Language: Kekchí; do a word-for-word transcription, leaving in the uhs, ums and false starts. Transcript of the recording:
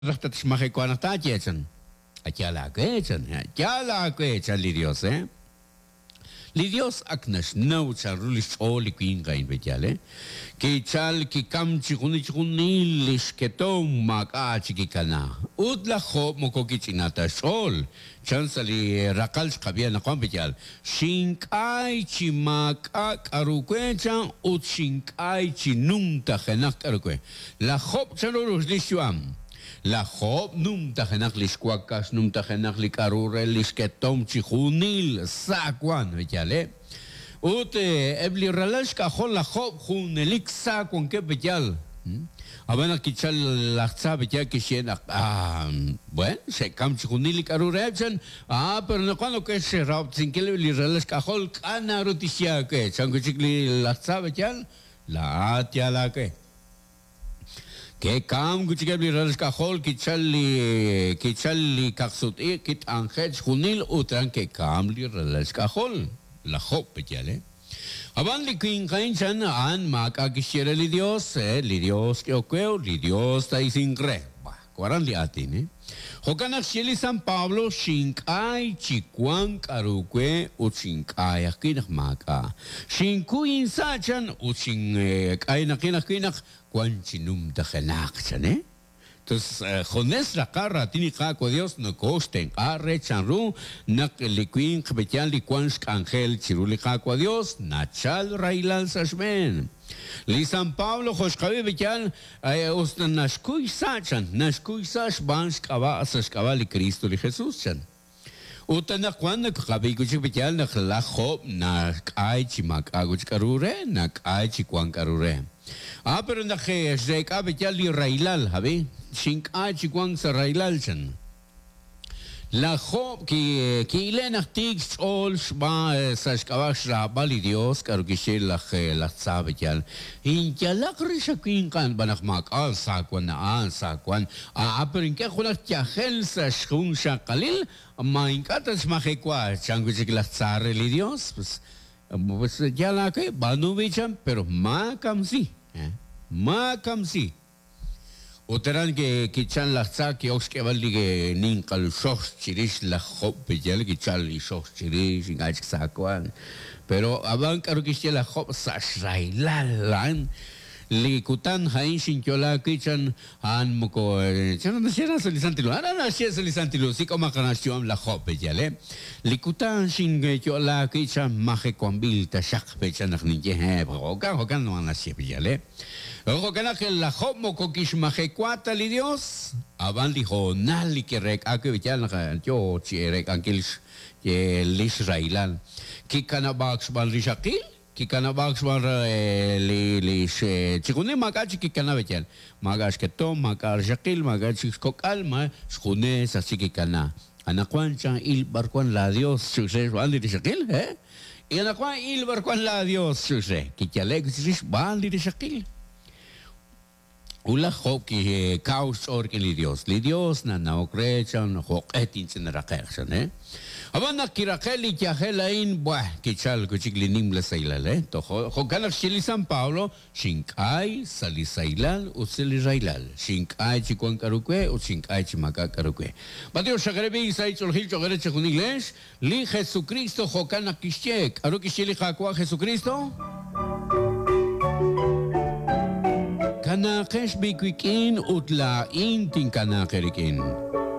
Raj tatxmajewa naq taaye chan. Yaal aawe chan, yaal aawe chan li Dios, eh? Li Dios ak naxnaw chanru li xch'ool li winq a'in pe'yaal, eh? Kichal kikam chi junil chi junil li xketom maak'a' chik kikana. Ut laj Job moko kich'ina ta xch'ool. Chan sa' li raqal xqab'i anaqwan pe'yaal. Xink'ay chi maak'a' k'aru we chan ut xink'ay chi numtajenaq k'aru we. Laj Job chanru li xyu'am. Laj Job numtajenaq li xwakax, numtajenaq li k'aru re li xketom chi junil sa wan pe'yaal, eh? Ut eb' li ralal xk'ajol laj Job junelik sa wankeb' pe'yaal. Ab'an naq kichal laj tza pe'yaal kixye naq ah, bueno, xe'kam chi junil li k'aru reheb' chan. Ah, pero naqwan ok xrahob'tesinkil li ralal xk'ajol k'a' naru tixye aawe. Chan wi' chik li laj tza pe'yaal, laa'at yaal aawe. Ke'kam wi' chik eb' li ralal xk'ajol kichal li kichal li kaqsut-iq' kit'anje'k xjunil ut aran ke'kam li ralal xk'ajol. Laj Job pe'yaal, eh? Ab'an li winq a'in chan a'an maak'a' kixye re li Dios, eh? Li Dios k'ehok we, li Dios ta'isinq re. Bah, waran li aatin, eh? Jo'kan naq xye li San Pablo xink'ay chi wank k'aru we ut xink'ay ajwi' naq maak'a'. Xinkuy insa' chan ut xink'aynaqin ajwi' naq wan chi numtajenaq chan, eh? Entonces, junes raqal raatin li Qaawa' Dios nokooxtenq'a re chanru naq li winq pe'yaal li wan xk'anjel chiru li Qaawa' Dios nachal rahilal sa' xb'een. Li San Pablo jo' xqab'i pe'yaal us naxkuy sa' chan, naxkuy sa' xb'aan xk'ab'a' sa' xk'ab'a' li Cristo li Jesús chan. Ut anaqwan naqab'i wi' chik pe'yaal naq laj Job nak'ay chi maak'a' wi' chik k'aru re, nak'ay chi wank k'aru re. Ah, pero naq xreek'a pe'yaal li rahilal, ab'i, xink'ay chi wank sa' rahilal chan. Laj Job ki ki'ile naq tiik xch'ool xb'aan sa' xk'ab'a' xraab'al li Dios k'aru kixye laj laj tza pe'yaal. Inyalaq rix awinqan b'an naq maak'a' sa wan a'an sa wan. Ah, pero ink'a' junaq yajel sa' xjun xaqalil ma ink'a' tatxmajewa chan wi' chik laj tza re li Dios. Pues, pues yaal aawe b'aanu b'i chan, pero maakamsi, eh? Maakamsi. Ut aran kichan laj tza ki'ok xk'eeb'al li ninqal xox chirix laj Job pe'yaal kichal li xox chirix ink'a' chik sa wan. Pero ab'an k'aru kixye laj Job sa' xrahilal a'an li kutan a'in xinyo'laak wi' chan a'an moko chan naxye sa' li Santil Hu, aran naxye sa' li Santil Hu sik'omaq naxyu'am laj Job pe'yaal, eh? Li kutan xinyo'laak wi' chan majewanb'il taxaq pe'chan naq ninye eh, jo'kan jo'kan naxye pe'yaal, eh? Jo'kan naq laj Job moko kixmajewa ta li Dios, ab'an li hoonal li kireek'a wi' pe'yaal naq yo chi reek'ankil li xrahilal. Kikanab'aak xb'aan rixaqil, kikanab'aak xb'aan li li chi junil maak'a' chik kikanab' pe'yaal. Maak'a' xketom, maak'a' rixaqil, maak'a' chik xkok'al, ma xjunes aj chik kikana. Anaqwan chan il b'ar wan la Dios chuxe xb'aan li rixaqil, eh? Y anaqwan il b'ar wan la Dios chuxe. Kiyale'k chirix xb'aan li rixaqil. Ut laj Job kikaw xch'ool rik'in li Dios. Li Dios nanawok re chan jo'q'e tinch'inaraqe'q chan, eh? Ab'an naq kiraqe' li yajel a'in, buah, kichal wi' chik li nimla sahilal, eh? Jo'kan naq xye li San Pablo, xink'ay sa' li sahilal ut sa' li rahilal. Xink'ay chi wank k'aru we ut xink'ay chi maak'a' k'aru we. Mateo xaqereb'i sa' ich'oolejil cho'q re chi junil lex, li Jesucristo jo'kan naq kixye. K'aru kixye li Qaawa' Jesucristo? Kanaaqex b'i wik'in ut laa'in tinkanaaqe rik'in.